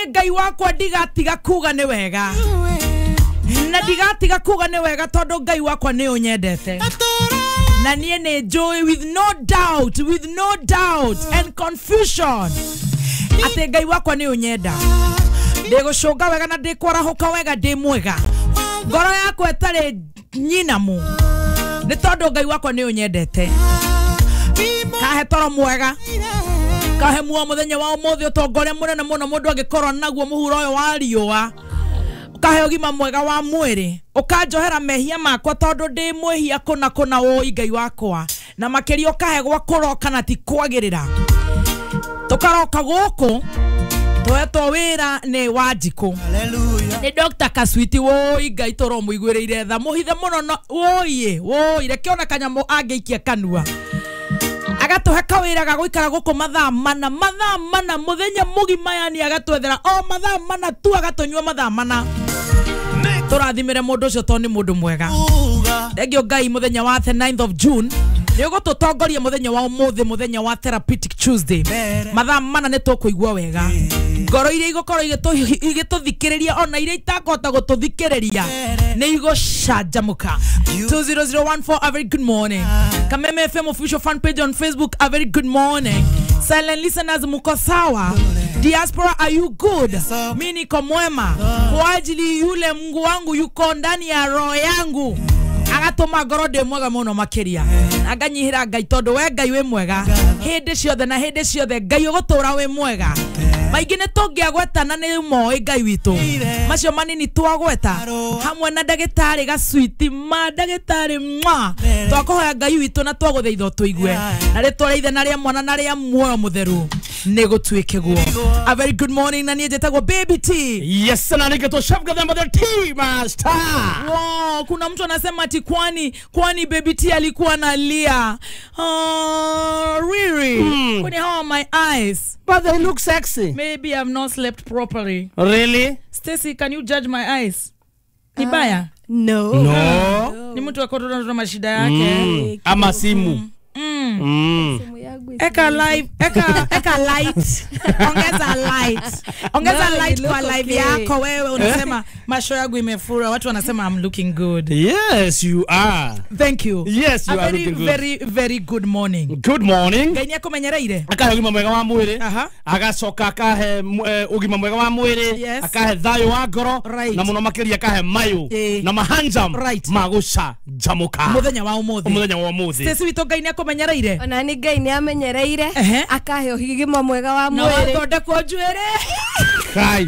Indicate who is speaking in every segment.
Speaker 1: Niĩ Ngai wakwa ndigatiga kuga nĩ wega, na ndigatiga kuga nĩ wega tondũ Ngai wakwa nĩ ũnyendete. Na niĩ nĩ njũĩ with no doubt, with no doubt and confusion atĩ Ngai wakwa nĩ ũnyenda. Ndĩgũcũnga wega na ndĩkwarahũka wega, ndĩ mwega, ngoro yakwa ĩtarĩ nyinamu, nĩ tondũ Ngai wakwa nĩ ũnyendete. Kahe toro mwega, kahe muo muthenya wa umuthi, utonga uria munene muno mundu angikorwo naguo muhuro uyu wa riũa. Ukahe ũgima mwega wa mwĩrĩ, ũkanjohera mehia makwa tondũ ndĩ mwĩhia kũna kũna, wũi Ngai wakwa, na makĩria ũkahe gwa kũroka na ti kwagĩrĩra. Tũkaroka gũkũ tũhetwo wĩra nĩ Wanjikũ, nĩ Dr. Kaswiti, wũi Ngai tũromũiguĩrĩire tha, mũhithe mũno no wũiĩ wũi, reke ona kanyamũ angĩikia kanua agatũhe kawĩra ga gũikara gũkũ mathaa mana, mathaa mana mũthenya mũgima, yani agatwethera o mathaa mana tu, agatũnyua mathaa mana. Tũrathimĩre mũndũ ũcio tondũ nĩ mũndũ mwega. Thengio Ngai mũthenya wa the 9th of June nĩ ũgũtũtongoria mũthenya wa ũmũthĩ, mũthenya wa Therapeutic Tuesday. Mathaa mana nĩ tũkũigua wega, ngoro iria igũkorwo igĩtũthikĩrĩria ona iria itakũhota gũtũthikĩrĩria nĩ igũcanjamũka. 20014, a very good morning. Kameme FM official fan page on Facebook, a very good morning. Silent listeners, muko sawa? Diaspora, are you good? Mi niko mwema kwa ajili yule Mungu wangu yuko ndani ya roho yangu, agatũma ngoro ndĩ mwega mũno makĩria, na nganyihĩra Ngai tondũ we Ngai wĩ mwega hĩndĩ ciothe na hĩndĩ ciothe. Ngai ũgũtũra wĩ mwega. Maingĩ nĩ tũngĩagweta na nĩ moĩ Ngai witũ, macio manini twagweta hamwe na ndagĩtarĩ Gaswiti, ma ndagĩtarĩ mwa, twakũhoya Ngai witũ na twagũthaitha ũtũigue na rĩtwa rĩa Ithe na rĩa Mwana na rĩa Muoyo Mũtheru nĩ gũtuĩke guo. A very good morning, na niĩ njĩtagwo Baby T.
Speaker 2: Yes, na nĩngĩtwo Chef Gathemba the Tea Master.
Speaker 1: Wow, kuna mtu anasema ati kwani Baby T alikuwa analia. Oh, really? Kwani how are my eyes?
Speaker 2: But they look sexy.
Speaker 1: Maybe I've not slept properly.
Speaker 2: Really?
Speaker 1: Stacy, can you judge my eyes? Ni baya?
Speaker 3: No.
Speaker 2: No.
Speaker 1: Ni mtu akoto na mashida yake.
Speaker 2: Ama simu.
Speaker 1: Eka live, eka light. Ongeza light. Ongeza
Speaker 3: No,
Speaker 1: light
Speaker 3: you
Speaker 1: kwa
Speaker 3: look
Speaker 1: live
Speaker 3: okay.
Speaker 1: yako wewe unasema macho yangu imefura, watu wanasema I'm looking good.
Speaker 2: Yes, you are.
Speaker 1: Thank you.
Speaker 2: Yes, you
Speaker 1: A
Speaker 2: are
Speaker 1: very
Speaker 2: looking good.
Speaker 1: very very good morning.
Speaker 2: Good morning.
Speaker 1: Ngai nĩakũmenyereire.
Speaker 2: Akahe ũgima mwega wa mwĩrĩ,
Speaker 1: Aha.
Speaker 2: agacoka akahe ũgima mwega wa mwĩrĩ,
Speaker 1: Yes.
Speaker 2: akahe thayũ wa ngoro,
Speaker 1: Right.
Speaker 2: na mũno makĩria akahe mayũ na mahanjam
Speaker 1: Right.
Speaker 2: ma gũcanjamũka
Speaker 1: Mũthenya wa ũmũthĩ.
Speaker 2: Mũthenya wa ũmũthĩ.
Speaker 1: Stacy witũ, Ngai nĩakũmenyereire.
Speaker 3: Ona nĩ Ngai nĩ amenyereire, akahe ũgima mwega wa
Speaker 1: Na
Speaker 3: mwĩrĩ.
Speaker 1: wathondekwo njuĩrĩ.
Speaker 2: Kai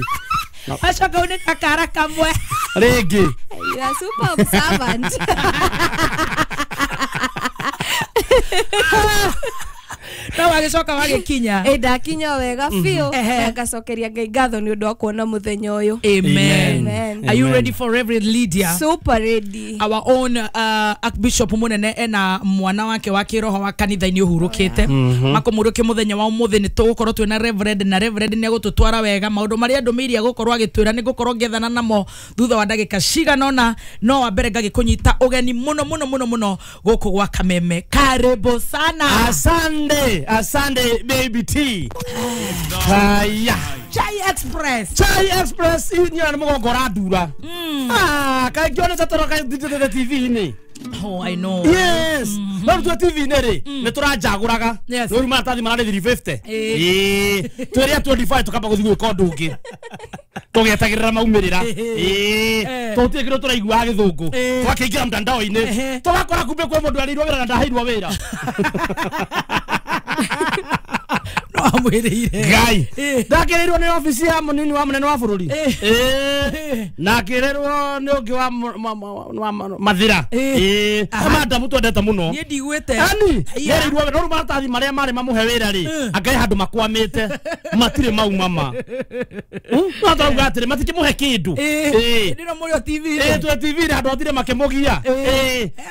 Speaker 1: Wacoka unĩka kara kamwe.
Speaker 2: Rĩngĩ.
Speaker 3: You are super observant.
Speaker 1: No wagĩcoka wagĩkinya.
Speaker 3: Ĩ, ndakinya wega biũ, na ngacokeria Ngai ngatho nĩ ũndũ wa kuona mũthenya ũyũ.
Speaker 1: Amen.
Speaker 3: Amen.
Speaker 1: Are you
Speaker 2: Amen.
Speaker 1: ready for Reverend Lydia?
Speaker 3: Super ready.
Speaker 1: Our own Archbishop munene ena mwana wake wa kiroho wa kanitha-inĩ ũhurũkĩte, makũmũrũke mũthenya wa ũmũthĩ. Nĩ tũgũkorwo twĩna Reverend, na Reverend nĩ egũtũtwara wega maũndũ marĩa ndũmĩire egũkorwo agĩtwĩra, nĩ ngũkorwo ngĩethana namo thutha wa ndagĩka cigana ũna. No wa mbere ngagĩkũnyita ũgeni mũno mũno mũno mũno gũkũ gwa Kameme. Karibu sana.
Speaker 2: Asante, asante Baby T. Haya.
Speaker 1: Chai Express.
Speaker 2: Chai Express inyuĩ nĩ mũgongo ũrandura. Ah, kaĩ ngĩona ta tũroka TV-inĩ.
Speaker 1: Oh, I know.
Speaker 2: Yes. No rĩu twĩ TV-inĩ rĩ, nĩ tũranjagũraga. Rĩu maratathi mararĩ 350. Ĩĩ. Twĩrĩa 25 tũkamba gũthiĩ gwĩka ũndũ ũngĩ. Tũgĩetagĩrĩra maumĩrĩra. Ĩĩ. Tũtirĩ kĩndũ tũraiguaga gĩthũngũ. Twakĩingĩra mtandao-inĩ. Tũgakora kumbe kwĩ mũndũ arĩirwo wĩra na ndaheirwo wĩra.
Speaker 1: No amwĩrĩire.
Speaker 2: Ngai. Ndakĩrĩirwo nĩ obici ya mũnini wa mũnene wa bũrũri. Na akĩrĩrwo nĩ ũngĩ wa Mathira. Ĩĩ. Madamu twendete mũno.
Speaker 1: Niĩ ndigwĩte.
Speaker 2: Ani,
Speaker 1: Iya.
Speaker 2: nĩerĩirwo wĩra, no rĩu maratathi marĩa marĩ mamũhe wĩra rĩ, angai handũ makwamĩte, matirĩ mau mama. No tũrauga atĩrĩ, matikĩmũhe kĩndũ.
Speaker 1: Ĩĩ. Ndĩno mũrĩ o TV-inĩ.
Speaker 2: Ĩĩ, twĩ TV-inĩ handũ hatirĩ makĩmũgia.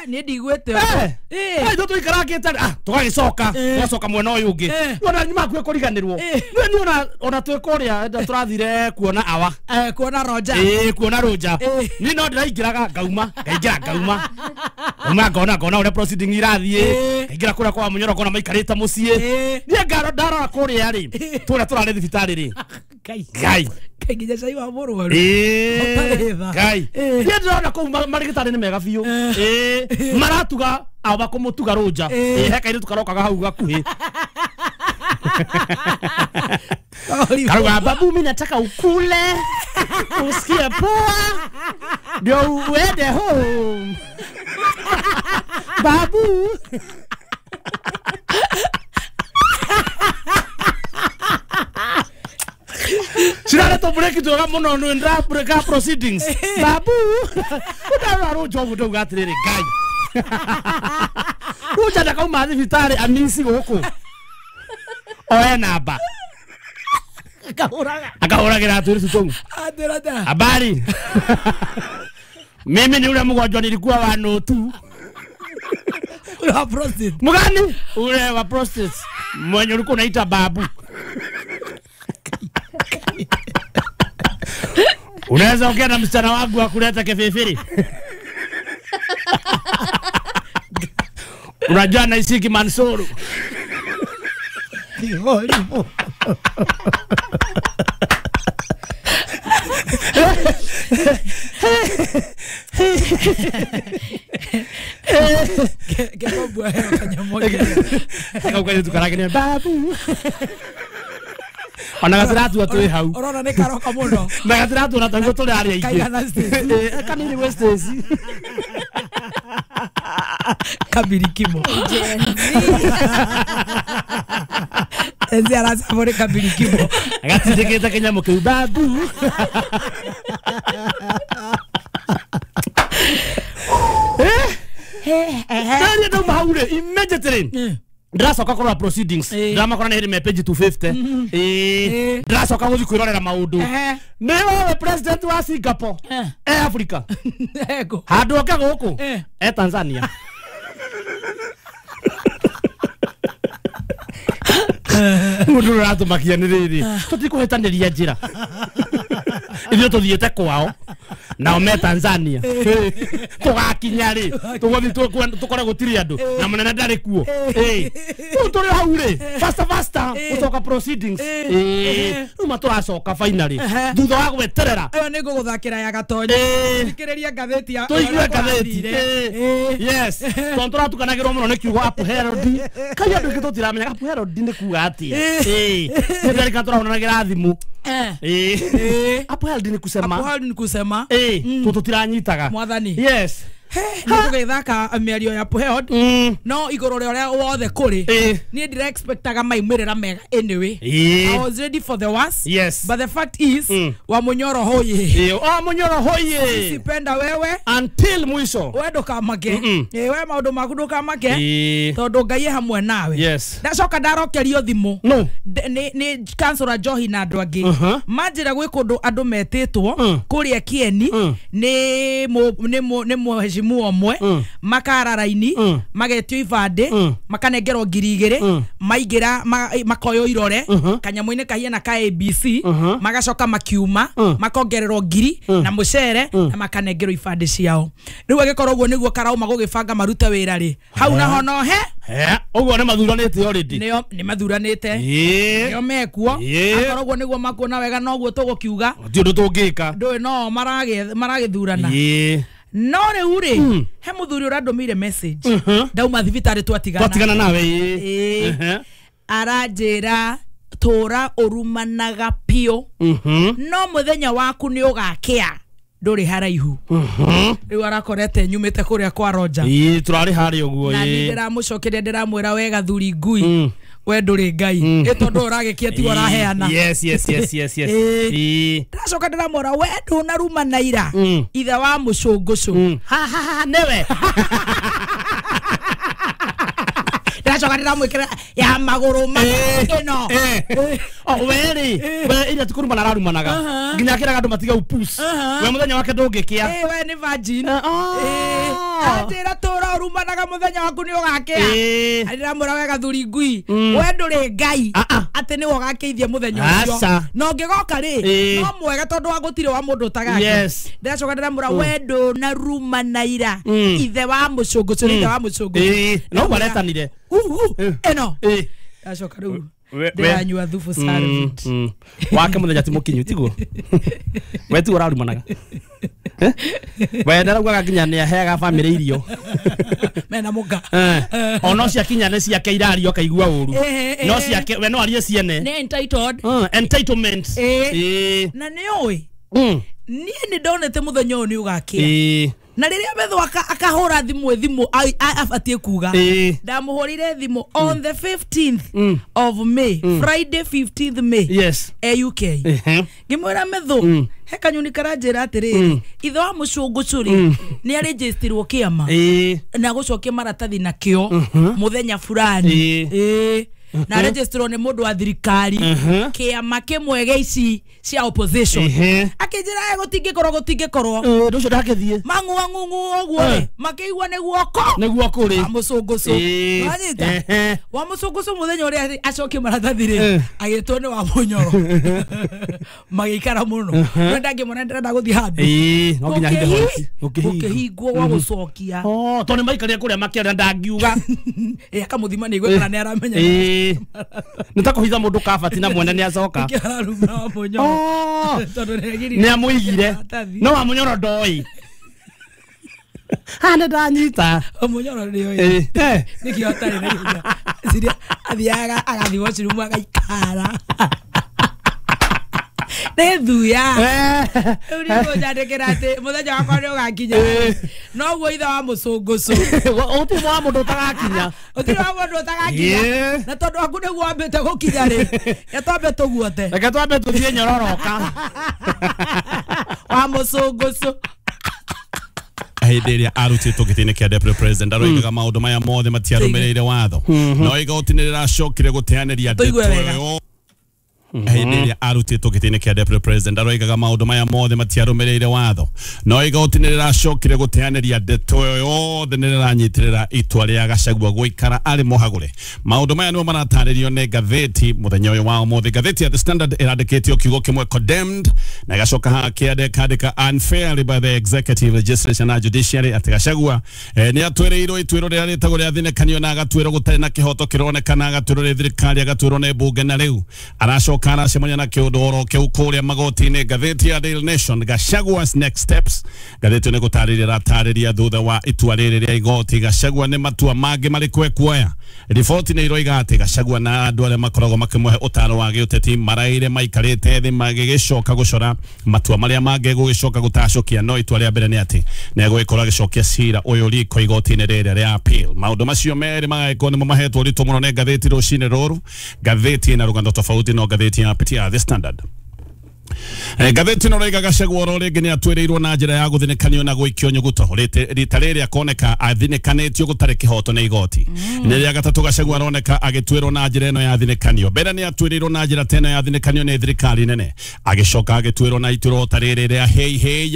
Speaker 1: Niĩ ndigwĩte.
Speaker 2: Ithuĩ tũikarakĩte, tũgagĩcoka, tũgacoka mwena ũyũ ũngĩ. Ona nĩ makuĩ kũriganĩrwo. Nĩ ona twĩ kũrĩa tũrathire kuona awa.
Speaker 1: Kuona Roja.
Speaker 2: Ĩĩ, kuona Roja. Niĩ no ndĩraingĩraga ngauma, ngaingĩra ngauma. Ngauma ngona ũrĩa proceeding irathiĩ. Ngaingĩra kũrĩa kwa Mũnyoro ngona maikarĩte mũciĩ. Niĩ ndarora kũrĩa rĩ, tũrĩa tũrarĩ thibitarĩ rĩ.
Speaker 1: Ngai.
Speaker 2: Ngai.
Speaker 1: Nginya cai wa mũrwaru.
Speaker 2: Ngai. Niĩ ndĩrona kũu marigitari nĩ mega biũ. Maratuga aba kũmũtuga rũnja. He kairĩtu karokaga hau gakuhĩ. Karuga babu, mimi nataka ukule usikie poa ndio uende home. Babu. Cirare to break twega muno nĩ ndra break proceedings. Babu. Ndarora rũnja ũguo ndauga atĩrĩrĩ Ngai. Rũnja ndakauma thibitarĩ amisi gũkũ. Oe namba. Akahuragira atwiri tutongu. Habari. Mimi ni ule mgonjwa nilikuwa wa notu.
Speaker 1: Ule wa prostate.
Speaker 2: Mgani? Ule wa prostate. Mwenye ulikuwa unaita babu. Unaweza ongea na msichana wangu akuleta kefeferi. Unajua naisiki Mansuru. Babu. Ona gatiratua twi hau.
Speaker 1: Urona ni karoka muno.
Speaker 2: Na gatiratua na tango turi aria ingi.
Speaker 1: Kaigana Stacy.
Speaker 2: Kanini we Stacy.
Speaker 1: Kabirikimo. Enzi aracabore kabirikimo.
Speaker 2: Gatindikite kinyamu kiu babu. Ndari ndauma hau ri immediately. Ndiracoka kũrora proceedings. Ndiramakora nĩ hĩndĩ me page 250. Ndiracoka gũthiĩ kwĩrorera maũndũ. Nĩ wewe president wa Singapore. E Africa. Handũ oke gũkũ. E Tanzania. Mũndũ ũratũmakia nĩ rĩrĩ. Tũtikũhĩtanĩria njĩra. Ithuĩ tũthiĩte kwao. Nao me Tanzania. Tũgakinya rĩ. Tũgũthiĩ tũkore gũtirĩ andũ. Na mũnene ndarĩ kuo. Rĩu tũrĩ hau rĩ. Faster faster gũcoka proceedings. Rĩu matũracoka finally. Thutha wa gweterera.
Speaker 1: Ĩyo nĩ ngũgũthakĩra ya Gatonyo. Thikĩrĩria ngathĩti ya
Speaker 2: tũigue ngathĩti. Yes. Tondũ tũratukanagĩrwo mũno nĩ kiugo upherodi. Kai andũ aingĩ tũtiramenya upherodi nĩ kuga atĩa. Nĩ ndarika tũrahũranagĩra thimũ. Upherodi nĩ kusema.
Speaker 1: Upherodi nĩ kusema.
Speaker 2: Tũtiranyitaga.
Speaker 1: Mwathani.
Speaker 2: Yes.
Speaker 1: Nĩ tũgĩthaka mĩario ya Upherod. No igũrũ rĩa ũrĩa wothe kũrĩ. Niĩ ndira expectaga maumĩrĩra mega anyway. I was ready for the worst.
Speaker 2: Yes.
Speaker 1: But the fact is wa Munyoro hoye.
Speaker 2: O Munyoro hoye.
Speaker 1: Sipenda wewe
Speaker 2: until mwisho.
Speaker 1: We ndũkamake. We maũndũ maku ndũkamake. Tondũ Ngai e hamwe nawe.
Speaker 2: Yes.
Speaker 1: Ndacoka ndarokerio thimũ.
Speaker 2: No.
Speaker 1: Nĩ councillor Njohi na andũ angĩ. Manjĩra gwĩ kũndũ andũ metĩtwo kũrĩa Kieni nĩ mheshimiwa omwe makara raini magetio ibandĩ makanengerwo 2,000 maingĩra makoywo irore kanyamũ-inĩ kahiana ka ABC magacoka makiuma makongererwo 1,000 na mũcere na makanengerwo ibandĩ ciao. Rĩu agĩkorwo ũguo nĩguo karauma gũgĩbanga marute wĩra rĩ hau naho no he
Speaker 2: ũguo nĩ mathuranĩte already.
Speaker 1: Nĩo nĩ mathuranĩte. Nĩo mekuo. Akorwo ũguo nĩguo makuona wega noguo tũgũkiuga.
Speaker 2: Ti ũndũ tũngĩka.
Speaker 1: Ndũĩ no maragĩthurana. No rĩu rĩ he mũthuri ũrandũmĩire message. Ndauma thibitarĩ twatigana.
Speaker 2: Twatigana nawe.
Speaker 1: Aranjĩra tũra ũrumanaga piũ. No mũthenya waku nĩ ũgakĩa. Ndũrĩ haraihu. Rĩu arakorete nyumĩte kũrĩa kwa Roger.
Speaker 2: Tũrarĩ harĩa ũguo.
Speaker 1: Na niĩ ndĩramũcokeria ndĩramwĩra wega thuri ngui. We ndũrĩ Ngai. Ĩ tondũ ũragĩkia tiwe ũraheana.
Speaker 2: Yes yes yes yes yes.
Speaker 1: Ndacoka ndĩramwĩra we ndũnarumana ira. Ithe wa mũcũngũcũ.
Speaker 2: Ha ha ha newe.
Speaker 1: Ndacoka ndĩramwĩkĩra ya magũrũ ma ĩno.
Speaker 2: O we rĩ we ira tikurumana ararumanaga. Nginya akĩraga andũ matiga upus. We mũthenya wake ndũngĩkĩa.
Speaker 1: We nĩ virgin. Atĩra tũra ũrumanaga mũthenya waku nĩ ũgakĩa. Ndĩramwĩra wega thuri ngui. We ndũrĩ Ngai. Atĩ nĩwe ũgakĩithia mũthenya ũcio. Na ũngĩgoka rĩ no mwega tondũ wa gũtirĩ wa mũndũ ũtagakĩa. Ndĩracoka ndĩramwĩra we ndũnarumana ira. Ithe wa mũcũngũcũ ithe wa mũcũngũcũ.
Speaker 2: No waretanire.
Speaker 1: Ĩno. Ndacoka rĩu Ndĩranyua thubu Salvit.
Speaker 2: Wake mũthenya ti mũkinyu tiguo. We tiguo ũrarumanaga. We ndaraugaga nginya nĩ aheaga bamĩrĩ irio.
Speaker 1: Mena mũka.
Speaker 2: Ona ciakinya nĩ ciake irario akaigua ũru. No ciake we no arie ciene.
Speaker 1: Nĩ entitled.
Speaker 2: Entitlement.
Speaker 1: Na nĩ ũĩ. Niĩ nĩ ndonete mũthenya ũyũ nĩ ũgakĩa. Na rĩrĩa Methu akahũra thimũ abatie kuga. Ndamũhũrire thimũ on the 15th of May, Friday 15th May.
Speaker 2: Yes.
Speaker 1: UK. Ngĩmwĩra Methu, he kanyuni karanjĩra atĩrĩrĩ, ithe wa mũcũngũcũrĩ nĩ arĩnjĩstirwo kĩama na gũcokia maratathi nakĩo mũthenya fulani. Na registerwo nĩ mũndũ wa thirikari kĩama kĩmwe gĩa ici cia opposition. Akĩnjĩra gũtingĩkorwo
Speaker 2: Ũndũ ũcio ndakĩthiĩ
Speaker 1: mang'uang'ung'u ũguo rĩ makĩigua nĩ guoko
Speaker 2: nĩguo kũrĩ
Speaker 1: wa mũcũngũcũ. Wanyita wa mũcũngũcũ mũthenya ũrĩa acokie maratathi rĩ agĩtwo nĩ wa mũnyoro magĩikara mũno no ndangĩmona ndĩrenda gũthiĩ handũ
Speaker 2: no nginya hithe hoti
Speaker 1: gũkĩhingwo gwa gũcokia.
Speaker 2: Tondũ nĩ maikarire kũrĩa makĩaria ndangiuga
Speaker 1: akamũthima nĩ igue kana nĩ aramenya.
Speaker 2: Nĩ ta kũhitha mũndũ kabati na mwene nĩ acoka. Nĩ amũigire no wa mũnyoro ndoĩ. Ha nĩ ndanyita
Speaker 1: mũnyoro nĩoĩ nĩkĩo atarĩ na hinya. Ciria athiaga agathiĩ washroom agaikara. Nĩ thuya. Rĩu nĩ ngũnjandĩkĩra atĩ mũthenya wakwa nĩ ũgakinya. Noguo ithe wa mũcũngũcũ.
Speaker 2: Ũtirĩ wa mũndũ ũtagakinya.
Speaker 1: Ũtirĩ wa mũndũ ũtagakinya. Na tondũ waku nĩguo wambĩte gũkinya rĩ, reke twambe tũguote.
Speaker 2: Reke twambe tũthiĩ nyororoka.
Speaker 1: Wa mũcũngũcũ.
Speaker 4: Hĩndĩ ĩrĩa arutĩtwo gĩtĩ-inĩ kĩa deputy president aroigaga maũndũ maya mothe matiarũmĩrĩire watho. No igoti nĩ rĩracokire gũteanĩria ndeto ĩyo. Hĩndĩ ĩrĩa arutĩtwo gĩtĩ-inĩ kĩa deputy president aroigaga maũndũ maya mothe matiarũmĩrĩire watho. No igoti nĩ rĩracokire gũteanĩria ndeto ĩyo yothe nĩ rĩranyitĩrĩra itua rĩa Gachagua gũikara arĩ mũhagũre. Maũndũ maya nĩmo maratarĩrio nĩ ngathĩti mũthenya ũyũ wa ũmũthĩ. Ngathĩti ya The Standard ĩrandĩkĩtio kiugo kĩmwe condemned na ĩgacoka haha kĩandĩka unfairly by the executive, legislature na judiciary atĩ Gachagua nĩ atwĩrĩirwo ituĩro rĩrĩa rĩtagwo rĩa thinĩkanio na agatuĩrwo gũtarĩ na kĩhoto kĩronekana, agatuĩrwo nĩ thirikari, agatuĩrwo nĩ mbunge na rĩu aracoka aracemania na kĩũndũ oro kĩu kũrĩa magoti-inĩ. Ngathĩti ya Daily Nation, Gachagua's next steps. Ngathĩti nĩ gũtarĩria ĩratarĩria thutha wa itua rĩrĩ rĩa igoti Gachagua nĩ matua mangĩ marĩkũ ekuoya. Riboti nĩ iroiga atĩ Gachagua na andũ arĩa makoragwo makĩmũhe ũtaro wa gĩũteti maraire maikarĩte thĩ magĩgĩcoka gũcora matua marĩa mangĩ gũgĩcoka gũtacũkia, no itua rĩa mbere nĩ atĩ nĩ egũgĩkorwo agĩcokia cira ũyũ riko igoti-inĩ rĩrĩa rĩa appeal. Maũndũ macio merĩ magagĩkorwo nĩmo mahetwo ũritũ mũno nĩ ngathĩti rũcinĩ rũrũ. Ngathĩti ĩna rũgano tofauti no ngathĩti ya The Standard. Ngathĩti ĩno ĩroiga Gachagua oro rĩngĩ nĩ atwĩrĩirwo na njĩra ya gũthinĩkanio na gũikio nyuguto. Rita rĩrĩ akoneka athinĩkanĩtio gũtarĩ kĩhoto nĩ igoti. Nĩ rĩa gatatũ Gachagua aroneka agĩtuĩrwo na njĩra ĩno ya thinĩkanio. Mbere nĩ atwĩrĩirwo na njĩra ta ĩno ya thinĩkanio nĩ thirikari nene, agĩcoka agĩtuĩrwo na ituĩro ta rĩrĩ rĩa hei hei.